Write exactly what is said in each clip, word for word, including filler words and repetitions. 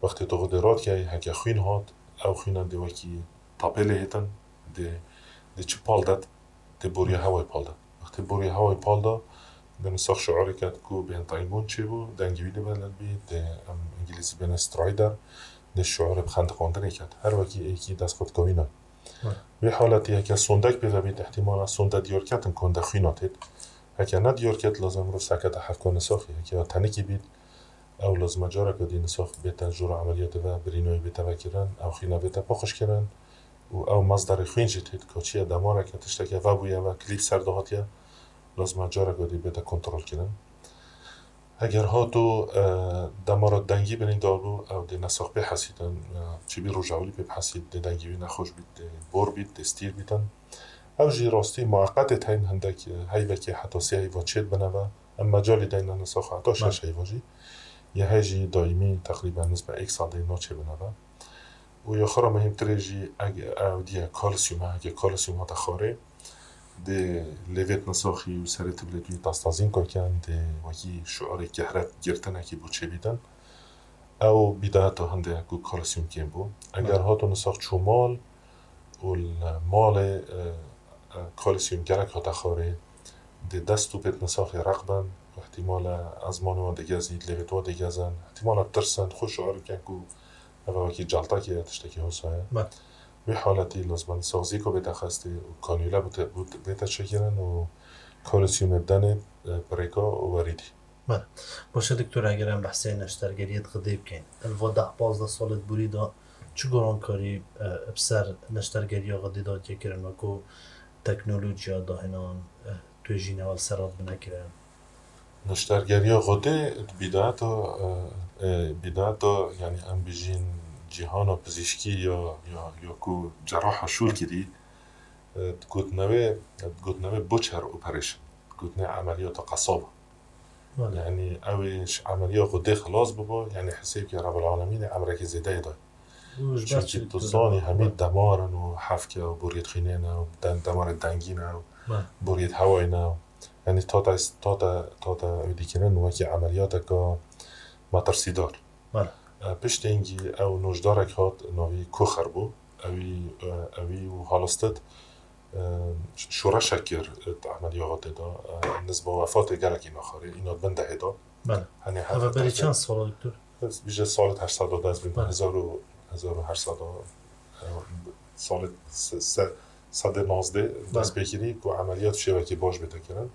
Wextê tu xwedê radikeyî, heke xwîn hat, ew xwîna dê wekî tapê lê hêtin, dê, dê çi pal det, dê boriya hewayê pal de. Wextê boriya hewayê pal de, dê nisax şiarê ket ku bêhn taybûn çêbû, dengê wî dê beled bî, dê em îngilîzî bêne stridor, dê şiarê bi xendiqandinê ket. Her wekî êkî dest xwe dikewîne. Wî haletî heke sondek pê ve bît, ihtimala sonde diyar ketin ku hinde xwîna têt. Heke ne diyar ket, lazim mirov sekete hevka nisaxî. Heke ya tenikî bît, ew lazim e careke dî nisax bête jora emeliyatê ve, birînayî bête vekirin, ew xwîna bête paqijkirin û ew mezderê xwîn jî têt, kaçiye demareke, tişteke vebûye ve, klîp ser de hatiye, lazim e careke dî bête kontrolkirin. Eger hato, e, demara dengî birîndar bû, ew dê nesax pê hesîtin, e, çi bî rojewlî pê bihesît, dê dengê wî nexweş bît, dê bor bît, dê stîr bîtin. Ew jî rastî mueqetê teyn hindek, e, heyvekê heta sê heyva çêt bine ve. Em mecalî deyne nesaxa heta şeş heyva jî. Yê hey jî daîmî teqrîben nizme êk sal deyne naçê bine ve. Û ya xwe re mehîmtirê jî eg-, ew diye kalsiyum e, heke kalsiyum hate xwarê, dê lêvêt nisaxî û serê tibilêt wî tastazîn koken, dê wekî şiarê kehret girtinekî bû çêbîtin. Ew bîdayeta hindê ye ku kalsiyum kêm bû. Eger hato nisax çû mal û li malê, e, e, kalsiyum gelek hate xwarê, dê dest û pêt nisaxê req bin, ihtimale ezmanê wan digezît, lêvêt wan digezin, ihtimale tirsin, xwe şiar bikin ku eva wekî celtakê ye, tiştekî hosa ye. Wî haletî lazim e nisax zîko bête xestê û kanûle bite, bû-, bête çêkirin û kalsiyumê bidenê, e, pirêka û werî dî. Bele. Baş e doktor, eger em behsê neştergeriyê di xwedê bikin, li va deh pazdeh salê di borî de çi gorankarî, e, bi ser neştergeriya xwedê de hatiye kirin, wekû teknolojiya dahinan, e, tu jî newel ser hat bine kirin? Neştergeriya xwedê di bîdayeta, e, e, bîdayeta, yanî em bijîn cîhana pizîşkî ya, ya, ya ku ceraha şûl kirî, e, digotinewê, digotinewê butcher operation, digotinê emeliyata qesaba. Bele. Yanî ew ê ji emeliya xwedê xilas bibo, yanî hesêb ke Rebel Alemînê emrekê zêdeyê daye. Û ji ber çi? Çimkî tu zanî hemî demar in û hefke û boriyêt xwînê ne û den-, demarê dengî ne û boriyêt hewayê ne. Yanî tate, tate, tate ew dîkirin wekî emeliyateke metirsîdar. Bele. E, piştî hingî ew nojdarek hat, navî Kocher bû. Ewî, e, ewî û halistid, e, şoreşek kir, e, di emeliya hatê de, e, nizba wefatê gelekî naxarê, îna di bin dehê de. Bele. Henê heft berî çend sala, doktor? Ez bije salet heşt sed de dest bî, hezar û, hezar û heşt sed de, e, salet se-, se-, sedê nazdê dest pê kirî ku emeliyat şêwekî baş bête kirin.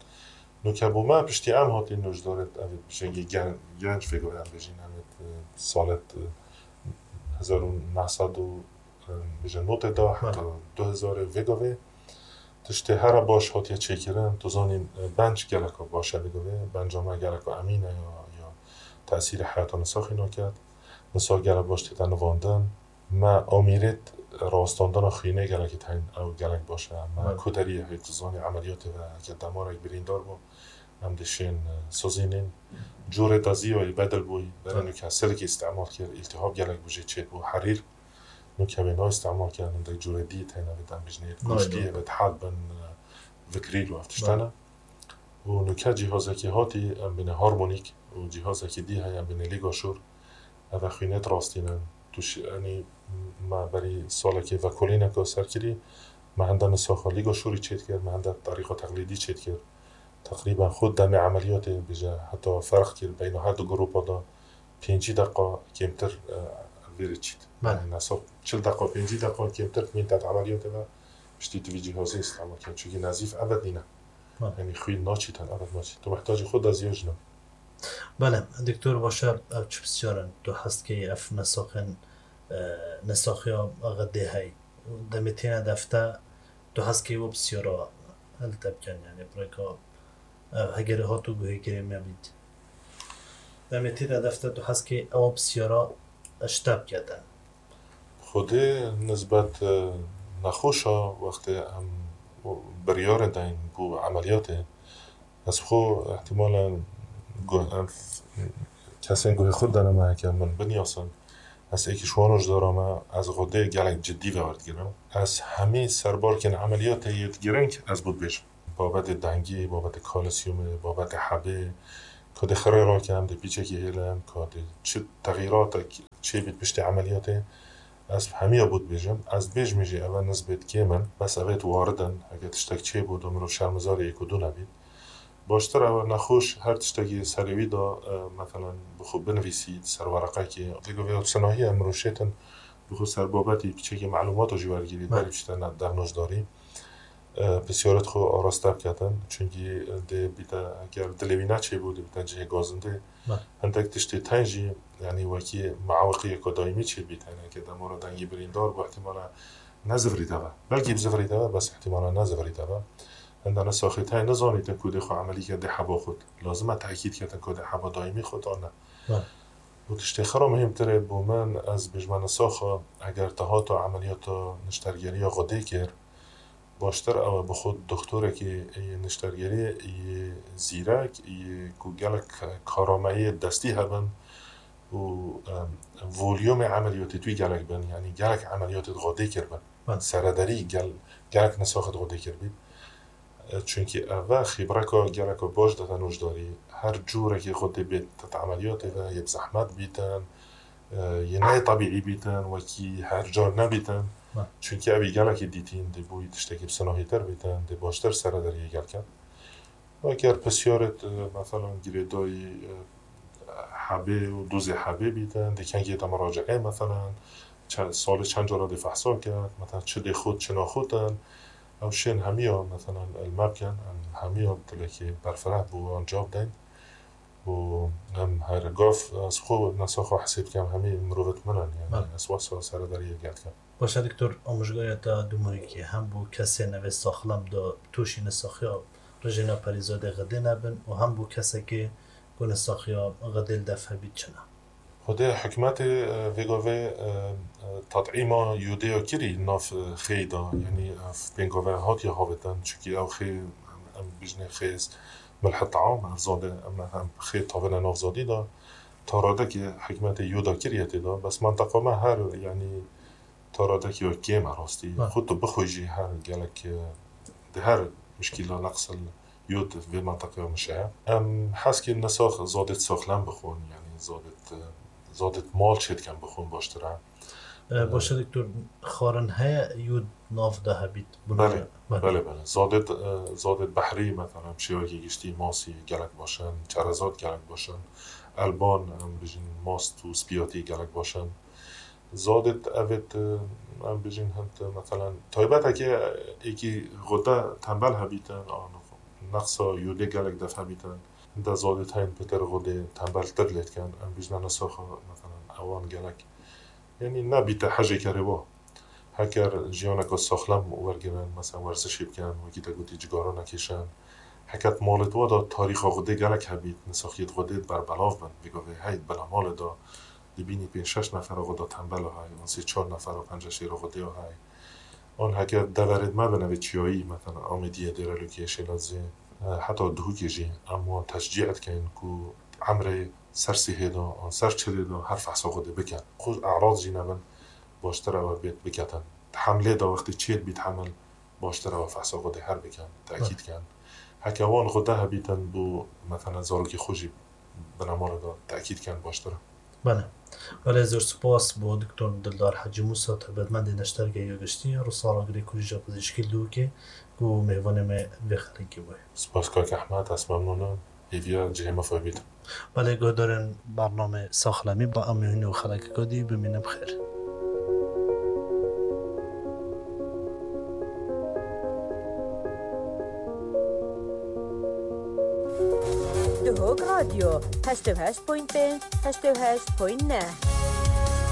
Nuke bo me piştî em hatî nojdarê, ev bijengî gen-, genc vê gavê em bêjîn, em ê, e, salet, e, hezar û neh sed û, e, bêje notê de heta du hezarê vê gavê. Tiştê here baş hatiye çêkirin, tu zanî, e, benc geleka baş e vê gavê, benca me geleka emîn e ya, ya tesîrê heyata nisaxî naket. Nisax gelek baş tête nivandin. Me amîrêt rawestandina xwînê gelekî teyn, ew gelek baş e. Me koteriyê hê, tu zanî, emeliyatê ve heke demarek birîndar bû, em dê şên, e, sozînîn. Corê deziyayî bedil bûyî, berê nuke silikî îstemal kir, îltihab gelek bû jê çêt bû, herîr. Nuke wê nayê îstemal kir, hindek corê dî teyne ve dem bijnê, goştiyê ve dihet bin, e, vikrîl û ev tiştene. Û nuke cîhazekî hatî, em bêne harmonîk û cîhazekî dî heye, em bêne lîgaşûr. Ev e xwînêt rastîne. Tu şi-, enî me berî salekê vekolîneke ser kirî, me hende nisaxa lîgaşûrî çêt kir, me hende terîqa teqlîdî çêt kir. Teqrîben xwe demê emeliyatê bêje heta ferq kir beyna her du grupa de pêncî deqa kêmtir, e, vêrê çît. Bele. Yanî nesa çil deqa, pêncî deqa kêmtir mîn te di emeliyatê ve piştî tu vî cîhazê îstemal kir. Çunkî nezîf ebed nîne. Bele. Yanî xwîn naçîtin, ebed naçît. Tu mihtacî xwe deziya jin e. Bele, doktor, baş e, ev çi pisyar in? Tu hez dikî ev nesaxên, e, nesaxiya xwedê hey. Demê têne defte, tu hez dikî ew pisyara li te bikin, yanî pirêka, e, heger hato guhê girê me bît. Demê têne defte, tu hez dikî ew pisyara ji te bike te. Xwedê nisbet, e, nexweşa wextê em biryarê deyn bo emeliyatê, ez xwe ihtimalen gu-, em, kesên guhê xwe dene me heke min binyasin. Ez êkî ji wan nojdara me, ez xwedê gelek cidî ve werdigirim. Ez hemî serbarkên emeliyatê yê girîng ez bo dibêjim. Babetê dengê, babetê kalsiyumê, babetê hebê, Ku dê xirê rakin, dê pîçekî hêlin, ku dê çi texîratek çêbît piştî emeliyatê, ez hemiya bû dibêjim. Ez dibêjimê jî ev e nisbet kêm in, bes ev ê warid in. Heke tiştek çêbû, do mirov şermizarê yek û du nebît. Baştir ew e, nexweş her tiştekî serê wî de, e, meselen, bi xwe binivîsît ser wereqekê. Vê govê ew sinahiye mirov şêtin, bi xwe ser babetî piçekî melûmata jî wergirî, Belê. Berî piştene der nojdarî. E, pisyarêt xwe araste biketin, çunkî dê bîte, eger dilê wî neçêbû, dê bîte cihê gazindê. Belê. Hindek tiştê tên jî, yanî wekî muawiqiyeke daîmî çêbît, yanî heke demara dengî birîndar bû, ihtimala nezivirî deve. Belkî bizivirî deve, bes ihtimala nezivirî deve. Hindana saxî tên nizanîtin ku dê xwe emelî ke dê heba xwe. Lazim e tekîd ketin ku dê heba daîmî xwe an ne. Belê. Û tiştê xira muhîmtir e bo min, ez bêjme nisaxa, eger te hata emeliyata niştergeriya xwedê kir, baştir ew e bi xwe doktorekî yê niştergerî yê zîrek, yê ku gelek karameyê destî hebin û, em, volûmê emeliyatê wî gelek bin, yanî gelek emeliyatê xwedê kiribin. Belê. Serederî gel-, gelek nisaxê xwedê kiribî. E, çunkî ev e xîbreka geleka baş dete nojdarî. Her cûrekî xwedê bêt di emeliyatê ve yê bi zehmet bîtin, e, yê ne yê tebîî bîtin, wekî her car nebîtin. Ha. Çunkî ew ê gelekî dîtîn, dê bo wî tiştekî bi sinahîtir bîtin, dê baştir serederiyê gel ket. Eger pisyarêt, e, meselan, girêdayî, e, hebê û dozê hebê bîtin, dê kengê de miraciê, meselan, çe-, salê çend cara dê fehsa ket, meselan, çi dê xwet, çi naxwetin, ew şên hemiya, meselan, li me bikin, em hemiya dilekê berfireh bo wan cewab deyn. Û em her gav, ez xwe, nisaxa hesê dikim, hemî mirovêt min in, yanî Belê. Ez wesa serederiyê gel dikim. Baş e, doktor, amûjgariya te dûmahîkê hem bo kesên evê saxlem de tûşî nisaxiya rijêna perîzadê xwedê nebin û hem bo kesekê ku nisaxiya xwedê li def hebît çi ne? Xwedê hikûmetê, e, vê gavê, e, e, tet'îma yodê ya kirî nav, e, xêy de, yanî, e, pêngave hatiye havêtin, çunkî ew xê, em, em bijnê xê milh te'am, ev zadê, em, em xê tavêne nav zadî de, taradekê hikûmetê yoda kiriye tê de, bes menteqa me her, yanî, taradekî ya kêm e rastî. Ha. Xwe tu bixwe jî her gelek, e, di her mişkîla neqsil yod vê menteqeya min şeye. Em hez kir nisax zadêt saxlem bixwin, yanî zadêt, e, zadêt mal çêdikin bixwin baştir e. E, E, baş e, doktor, xwarin heye yod nav de hebît? Belê, belê. Belê, belê. Zadêt, e, zadêt behrî, mesela, bi şêwekî giştî masî gelek baş in, çerezat gelek baş in, elban, em bijin mast û spiyatî gelek baş in. Zadêt evêt, e, em bijin hint, e, mesela, taybeteke êkî xwede tembel hebîtin, an neqsa yodê gelek def hebîtin, hinde zadêt heyn pitir xwedê tembeltir lê dikin, em bijne nisaxa, mesela, ewan gelek, yanî nebîte hejê kerê wa. Heker jiyaneke saxlem wergirin, mesela werzişê bikin, wekî te gotî cigara nekêşin. Heket malêt wa da tarîxa xwedê gelek hebît, nisaxiyêt xwedê berbelav bin. Vê gavê hey bila malê da dibînî pênc şeş nefera xwe da tembel hay, an sê çar nefera pence şêra xwedê hay. An heke deverêt me bin evê çiyayî, mesela Amêdiyê, Dêrelûkê, Şêlazê, e, heta Duhokê jî em wan teşcî dikin ku emrê ser sihê da, an ser çilê da her fehsa xwedê bikin. Xwe erad jî nebin, baştir ew bêt biketin. Hemlê de wextê çêt bît hemil, baştir ew fehsa xwedê her bikin, tekîd kin. Heke wan xwede hebîtin bo, mesela, zarokê xwe jî binemalê de tekîd kin baştir. Belê. Belê, zor spas bo Doktor Dildar Hecî Musa, taybetmendê neştergeya giştî ya Rûsara Agirê Kolîja Pizîşkî Duhokê ku mêvanê me vê xelekê bûye. Spas kak Ehmed, ez memnûn im. Hêviya cihê me febît. Belê, guhdarên bername Saxlemî, ba em ê hûn û xelekeka dî bimînin bi xêr. Duhok Radyo, heşt û heşt point pênc, heşt û heşt point neh.